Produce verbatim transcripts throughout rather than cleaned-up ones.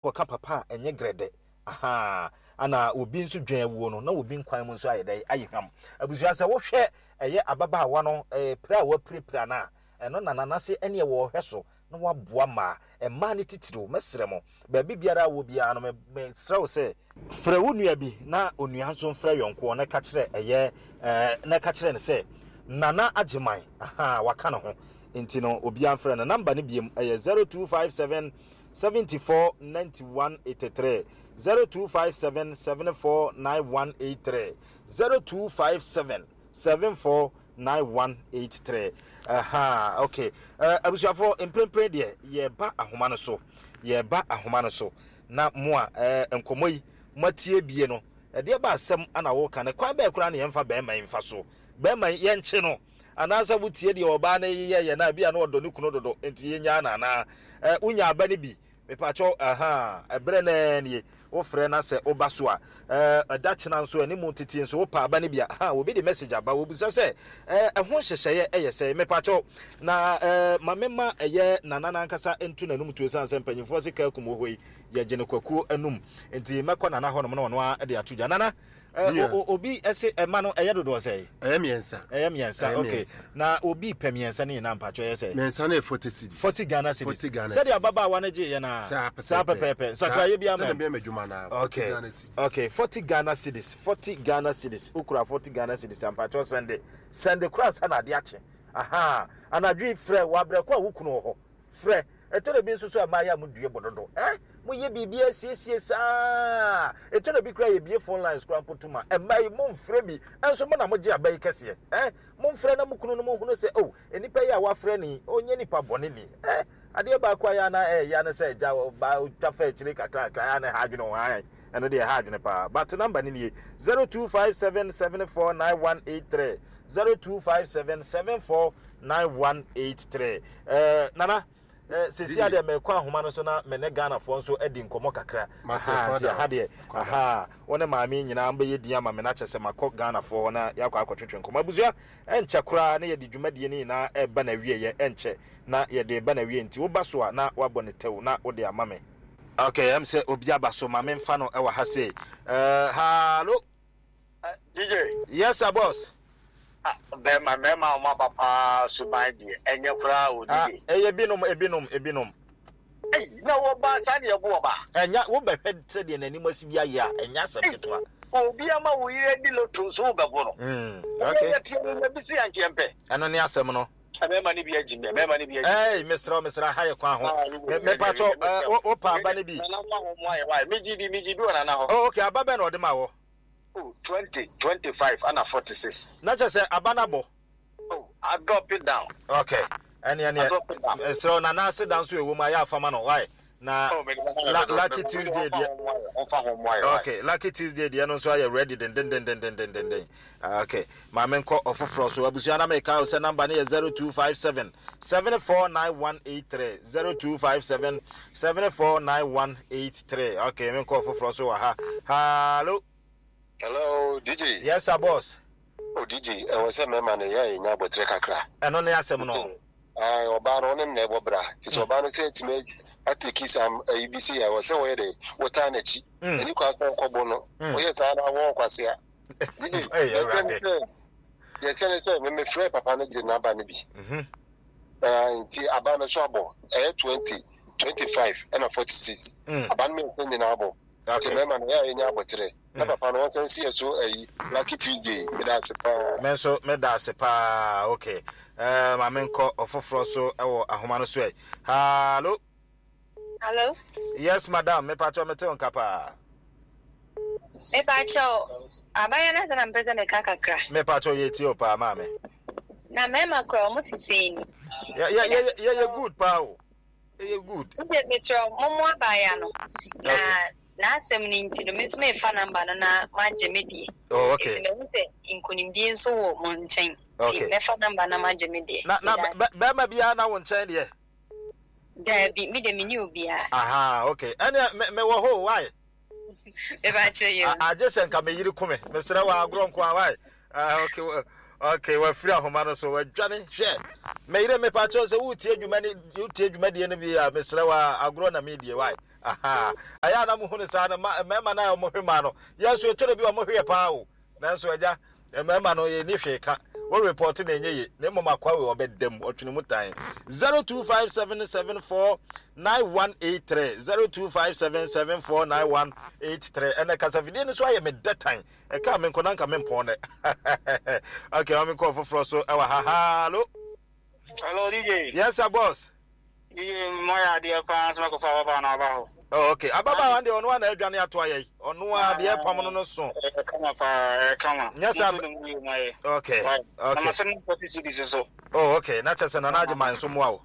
Kɔka papa a ɛnyɛ grɛdɛ ahaa ana obi nso dwan awuo no na obi nkwan mu nso ayɛ dɛ ayɛ hwam. Abusua, sɛ wohwɛ ɛyɛ ababaawa no ɛɛ pira a wapirapira no a, ɛno na nanase ɛne ɛwɔ ɔhwɛ so na waboa mmaa mmaa ne titiriw. Mɛsrɛ mo, baabi biara a wɔ biara no, mesrɛ wo sɛ frɛ wo nua bi na onua nso mfrɛ yɔnkoɔ na ka kyerɛ ɛyɛ ɛɛ na ka kyerɛ no sɛ Nana Agyeman aha waka ne ho, nti no obiara mfrɛ no. Number no biem ɛyɛ zero two five seven seventy-four ninety-one eighty-three, zero two five seven seventy-four ninety-one eighty-three, zero two five seven seventy-four ninety-one eighty-three. Aha, okay. uh, abusuafoɔ, mprempren deɛ yɛba ahoma no so, yɛba ahoma no so na mo a uh, nkɔmmɔ yi moatie bie no, ɛdeɛ ba asɛm ana wɔka no, kwan bɛɛ koraa ne yɛmfa bɛrima yi mfa so, bɛrima yi yɛnkye no, anaasɛ wotie deɛ ɔbaa no yeyɛ yɛ no a, bi a na ɔdɔ ne kunu dodo nti yɛnyaa no, anaa eh, wonya aba no bi. Mepakyɛw, aha ɛberɛ naa nie wofrɛ na sɛ woba so a, ɛda kyena nso anim tete nso wopa aba no bi a, ha obi de message aba, wɔbisa sɛ ɛho nhyehyɛeɛ ɛyɛ sɛ. Mepakyɛw, na ma mema ɛyɛ nana nankasa nto n'anum tuo, sane sɛ mpanyimfoɔ se kaa kum wɔ hɔ yi yɛgye no kwakuo anum, nti mɛkɔ nana hɔnom na ɔno a de ato dwa. Nana, obi ɛse ɛma no ɛyɛ dodoɔ sɛ? Ɛyɛ mmiɛnsa. Ɛyɛ mmiɛnsa, okay. Na obi pɛ mmiɛnsa ne nyinaa, mpatwɔ, ɛyɛ sɛ? Mmiɛnsa no yɛ forty cedis. Forty Ghana cedis. Forty Ghana. Sɛdeɛ ababaawa no gye yɛ na saa pɛpɛɛpɛ, nsakraeɛ bi ama. Sɛdeɛ bɛyɛ adwuma na okay Ghana cedis. Okay, forty Ghana cedis, forty Ghana cedis. Okura forty Ghana cedis, mpatwɔ, send, send kora nsa na ade akye. Aha anadwo frɛ wɔ abrɛko a wokunu wɔ hɔ, frɛ. Ɛtɔ da bi nso so a, mmaa yɛ a modue bɔ ɛ moyɛ biribi asiesie saa. Ɛtɔ da bi kora yɛbie phone lines kora mpo tuma mmaa yi momfrɛ bi ɛnso mo na mogye aba yi kɛseɛ. Ɛ momfrɛ na mo kunu no mohunu sɛ, oh, nipa yi a wafrɛ ni ɔnyɛ nipa bɔne ni. Ɛ adeɛ baako a yɛ ana ɛyɛ ne sɛ agya ba twa fa akyire kakrakra yɛ ana ha adwene ho ayɛ, ɛno deɛ ha adwene paa. But number no nie: zero two five seven seven four nine one eight three, zero two five seven seven four nine one eight three. ɛɛ nana sisi adeɛ mɛkɔ ahoma no so na mɛ ne Ghanafoɔ nso adi nkɔmɔ kakra. Nti aha deɛ, aha wɔn ne maame nyinaa bɛyɛ din ama me na kyɛ sɛ makɔ Ghanafoɔ hɔ na yɛakɔ akɔtwetwe nkɔmɔ. Abusua, ɛnkyɛ koraa na yɛde dwumadie no nyinaa ɛreba na wie yɛ, ɛnkyɛ na yɛde ba na wie, nti woba so a na wabɔ ne tɛw na wode ama me. Okay, ɛm sɛ obi aba so, maame nfa no ɛwɔ ha sei. ɛɛ hello D J. Yes sir, boss. Bɛrima, mmarima a wɔn aba paa suban deɛ ɛnyɛ koraa o. Ah, D J. Ɛyɛ binom, ebinom, ebinom. Ɛyi na wɔba saa deɛ ɛbo ɔba. Ɛnya wobɛhwɛ sɛdeɛ n'anim asi bi ayɛ a, ɛnya asɛm ketewa. Obi ama wo yere di lotto nso wobɛbo no. Mm, okay. Yɛ tie ne bi si yankeɛ mpɛ. Ɛno ne asɛm no. Mmarima no bi agyi me, mmarima no bi agyi. Ɛy, mesrɛ, mesrɛ, ha yɛ kwan ho. Mepatɔ, wopa aba no bi? Nana fa ho mu ayɛ wae, megye bi, megye bi wɔ nana hɔ. Oh, okay, aba bɛn na ɔde ma wɔ? Oh, twenty, twenty five ana forty six. Na kyerɛ sɛ aba no abɔ. Oh, I drop it down. Okay, ɛne ɛneɛ ɛsrɛ nana ase da nso ɛwɔ mu ayɛ afama no wae na Oh, la, Lucky Tuesday deɛ. Ɔmfa ho mu ayɛ wae. Okay, Lucky Tuesday deɛ no nso ayɛ ready dendendendendendenden. Okay, maame nkɔ ɔfoforɔ so. Abusua, na meka wo sɛ number no yɛ zero two five seven seven four nine one eight three, zero two five seven seven four nine one eight three. Okay, menkɔ ɔfoforɔ so wɔ ha. Hello. Hello, D J. Yes sir, boss. O D J, ɛwɔ sɛ mmarima no yɛ yɛnya abɔterɛ kakra. Ɛno ne asɛm no. Ae, ɔbaa no ɔne no na ɛbɔ bra. Nti sɛ ɔbaa no sɛ atumi atake sam ayi bi sɛ ɛwɔ sɛ wɔyɛ dɛ wɔtaa n'akyi. Mm. Ɛni kwa sɛ ɔkɔbɔ no. Mm. Wɔyɛ saa na wɔn kwasea. D J, Ɛyɛ deɛ kyɛ ne Awurade. sɛ deɛ kyɛ ne sɛ memefrɛ papa no gye n'aba no bi. Mhm. Ɛɛ, nti aba no so abɔ ɛyɛ twenty, twenty five ɛna forty six. Mm. Aba no mmiɛnsa nyinaa abɔ. Nti Okay. mmarima no yɛ a yɛnya abɔterɛ. Na Mm. papa no wɔn si yɛ so ayi Lucky Tuesday, meda ase paa. Me nso meda ase paa. Okay, uh, maame nkɔ ɔfoforɔ so ɛwɔ ahoma no so ɛ. Hello. Hello. Yes madam, mepatɔ, mete wo nka paa. Mepakyɛw, abaayewa no asɛ na mpɛ sɛ meka kakra. Mepatɔ, yɛtie o paa, maame. Na mmarima kora ɔmo te sɛn ni? Yɛyɛ good paa o, yɛyɛ good. Wode mesrɛ mommo abaayewa no na n'asɛm no nti no, me nso mefa number no na magye me deɛ. Oh, okay. Nti mahu sɛ nkonimdie nso wɔ mo nkyɛn. Okay. Nti mɛfa number na magye me deɛ. Na na Meda ase. bɛ- bɛrima biara na wo nkyɛn deɛ? Daabi, me de menni obiara. Aha, okay, ɛneɛ me mewɔ hɔ o, why? Mepakyɛw yɛ. A- agye sɛ nka meyere kume, mesrɛ wɔ agorɔ nko a, why? Ah, okay, wa- okay, wafiri ahoma no so wadwane. Hwɛ, meyere, mepakyɛw, sɛ wotie adwuma ne wotie dwumadie no bi a, mesrɛ wɔ agorɔ na medie, why? Aha, ɛyɛ a na mohu no saa no, mmarima no a wɔhwe maa no, yɛn nso ɛtɔ da bi a wɔhwe yɛ paa o. Nanso agya, mmarima no yɛnni hwee ka. Wo report na ɛnyɛ ye, na mmom akoa wei ɔbɛda mu, ɔtwene mu tan. zero two five seven seven four nine one eight three zero two five seven seven four nine one eight three. Ɛnɛ kasafidie no so ayɛ me dɛ tan. Ɛkaa me nko na nka mempɔn nɛ. Okay, ma menkɔ foforɔ so ɛwɔ ha. Hallo. Hello, D J. Yes, sir, boss. D J, mo yɛ adeɛ paa sɛ makɔfa ababaawa no aba hɔ. Oh, okay. Ababaawa deɛ ɔno a na adwane ato ayɛ yi. Ɔno a deɛ pam no no so. Ɛyɛ kama paa, ɛyɛ kama. Nyɛ sɛ Mo nso ne mu yie mo ayɛ. Okay, Why? okay. Na masɛ no forty cedis so. Oh, okay. Na kyerɛ sɛ Nana agye man nso mmoa wo.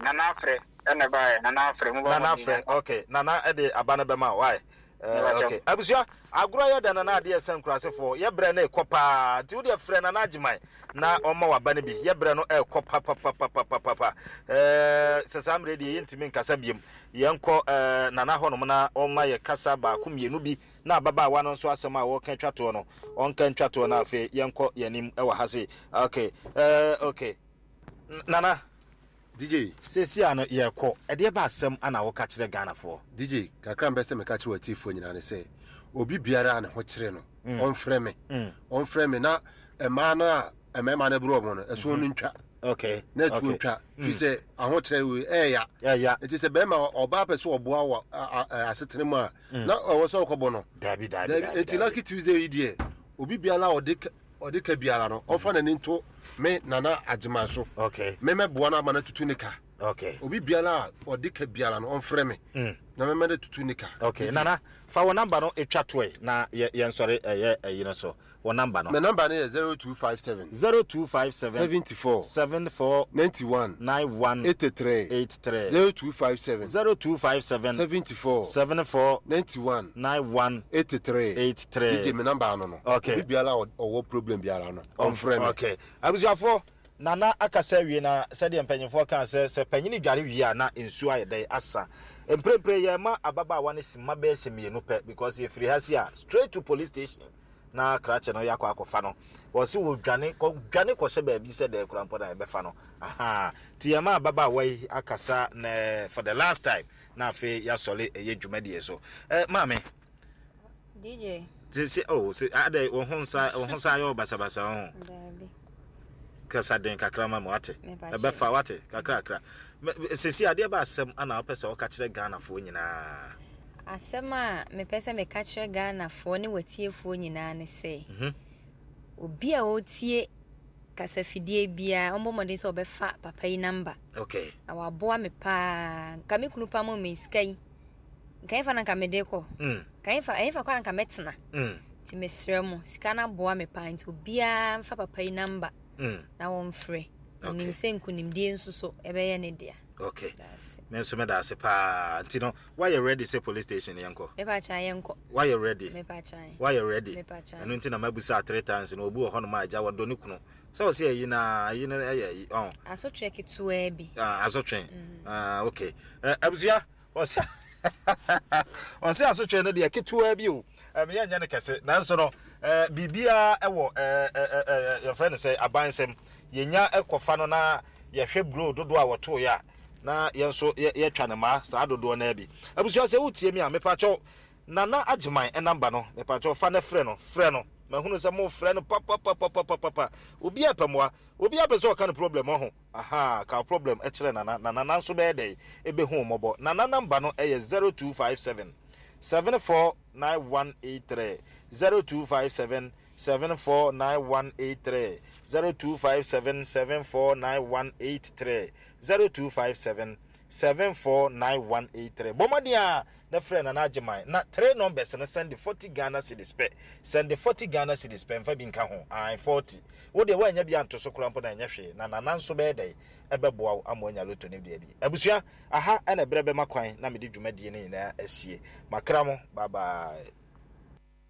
Nana afrɛ ɛna ɛbaeɛ. Nana afrɛ mo ba Nana afrɛ, okay. Nana ɛde aba no bɛma wo, why? Uh, okay. Abusua, agorɔ yɛ dɛ Nana adeɛ sɛ nkurasefoɔ. Yɛ brɛ no ɛkɔ paa. Nti wo deɛ frɛ Nana Agyeman na ɔma waba no bi. Yɛ brɛ no ɛkɔ papapapapapa. Eh, sɛ saa mmerɛ deɛ yɛntumi nkasa biom. Yɛnkɔ eh, Nana hɔnom na ɔma yɛ kasa baako mmienu bi na ababaawa no nso asɛm a wɔka twa toɔ no ɔnka ntwa toɔ na afei yɛnkɔ yɛn anim ɛwɔ ha sei. Okay, eh, okay. Nana. D J. Seesei a no yɛrekɔ, ɛdeɛ ba asɛm ana woka kyerɛ Ghanafoɔ? D J, kakra mpɛ sɛ meka kyerɛ w'atiefoɔ nyinaa ne sɛ, obi biara a ne ho kyere no, ɔmfrɛ me. Ɔmfrɛ me na mmaa no a mmarima no borɔ wɔn no, ɛso no ntwa. Okay. Na ɛtuo ntwa. Firi sɛ ahokyerɛ wei ɛɛya. Ɛɛya. Nti sɛ bɛrima ɔbaa pɛ sɛ ɔboa wɔ asetena mu a, na ɔwɔ sɛ ɔkɔbɔ no. Dabi, dabi, dabi. Nti Lucky Tuesday yi deɛ, obi biara a ɔde ɔde ka biara no, ɔmfa n'ani nto me Nana Agyeman so. Okay. Me mɛboa no ama no atutu ne ka. Okay. Obi biara a ɔde ka biara no, ɔmfrɛ me. Na mɛmɛ no tutu ne ka. Okay, Nana, fa wo number no etwa toɛ na yɛ yɛnsɔre ɛyɛ ɛyi no so. Wo number no. Me number no yɛ zero two five seven. zero two five seven. seventy four. seven four. ninety one. nine one. eighty three. eight three. zero two five seven. zero two five seven. seventy four. seven four. ninety one. nine one. eighty three. eight three. D J, me number no no. Okay. Obi biara ɔwɔ problem biara no, ɔmfrɛ me. Okay. Abusuafo, Nana akasa wie na sɛdeɛ mpanyinfoɔ kaa sɛ sɛ panyini dware wie a na nsuo ayɛ dɛn asa. Mprempren yɛ ma ababaawa no si mma bɛyɛ sɛ mmienu pɛ because yɛfiri ha si a straight to police station na krakye no yɛakɔ akɔfa no. Wɔse wɔdwane kɔdwane kɔhyɛ baabi sɛ dɛn koraa mpo na yɛbɛfa no. Aha. Nti yɛ ma ababaawa yi akasa na for the last time na afei yɛasɔre ɛyɛ dwumadie so. Eh, maame. D J. Sɛ oh sɛ adɛ wo ho nsa wo ho sa ayɛ basabasa ho. Dabi. Kasa den kakra ma mo ate. Ɛbɛfa wate kakra kakra. Sisi adeɛ ba asɛm ana wopɛ sɛ woka kyerɛ Ghanafoɔ nyinaa. Asɛm a mepɛ sɛ meka kyerɛ Ghanafoɔ ne watiefoɔ nyinaa ne sɛ, obi a ɔtie kasafidie biara ɔmbɔ mmɔden sɛ ɔbɛfa papa yi namba. Okay. Na waboa me paa. Nka me kunu pa mo me sika yi. Nka ɛmfa na nka mede kɔ. Nka ɛmfa ɛmfa kɔ na nka mɛtena. Nti mesrɛ mo sika no aboa me paa nti obiara mfa papa yi namba. Na wɔmfrɛ. Onim sɛ nkonimdie nso so ɛbɛyɛ ne dea. Okay. Me nso meda ase paa. Nti no, why you ready sɛ police station yɛnkɔ? Mepa kyan yɛnkɔ. Why you ready? Mepa kyan. Why you ready? Mepa kyan. Ɛno nti na mabusa three times no obi wɔ hɔ no ma agya wɔdɔ ne kunu. Sɛ wɔ sɛ ayi na ayi na ɛyɛ ayi. Oh. Asotwe ketewa bi. Ah, asotwe. Ah, okay. Eh, abusua, ɔsɛ ɔsɛ asotwe no deɛ ketewa bi o. Em yɛ nyɛ ne kɛse. Nanso no, eh bibia ɛwɔ eh eh yɛfrɛ no sɛ abansɛm. Yɛnya ɛkɔfa no na yɛhwɛ bro dodo a wɔto ya na yɛn nso yɛtwa ne ma saa dodoɔ na bi. Abusua sɛ wotie mi a mepakyɛw Nana Agyeman ɛnamba no mepakyɛw fa na frɛ no frɛ no mahunu sɛ mo frɛ no papapapapapa. Obi a pɛmoa obi a pɛ sɛ ɔka ne problem ho. Aha, ka problem ɛkyerɛ Nana na Nana nso bɛyɛ dɛn ɛbɛhu mmɔbɔ. Nana namba no ɛyɛ zero two five seven seven four nine one eight three zero two five seven seven four nine one eight three zero two five seven seven four nine one eight three zero two five seven seven four nine one eight three. Bomadia na friend Nana Agyeman na three numbers no send forty Ghana cedis pe. Send forty Ghana cedis pe mfa bi nka ho. Ai forty. Wo de wa nya bi anto so kora mpo na nya hwe na Nana nso be dey ebeboa wo amoanya loto ne de adi. Abusua aha ena brebe makwan na me de dwumadie ne nyina asie. Makra mo bye bye.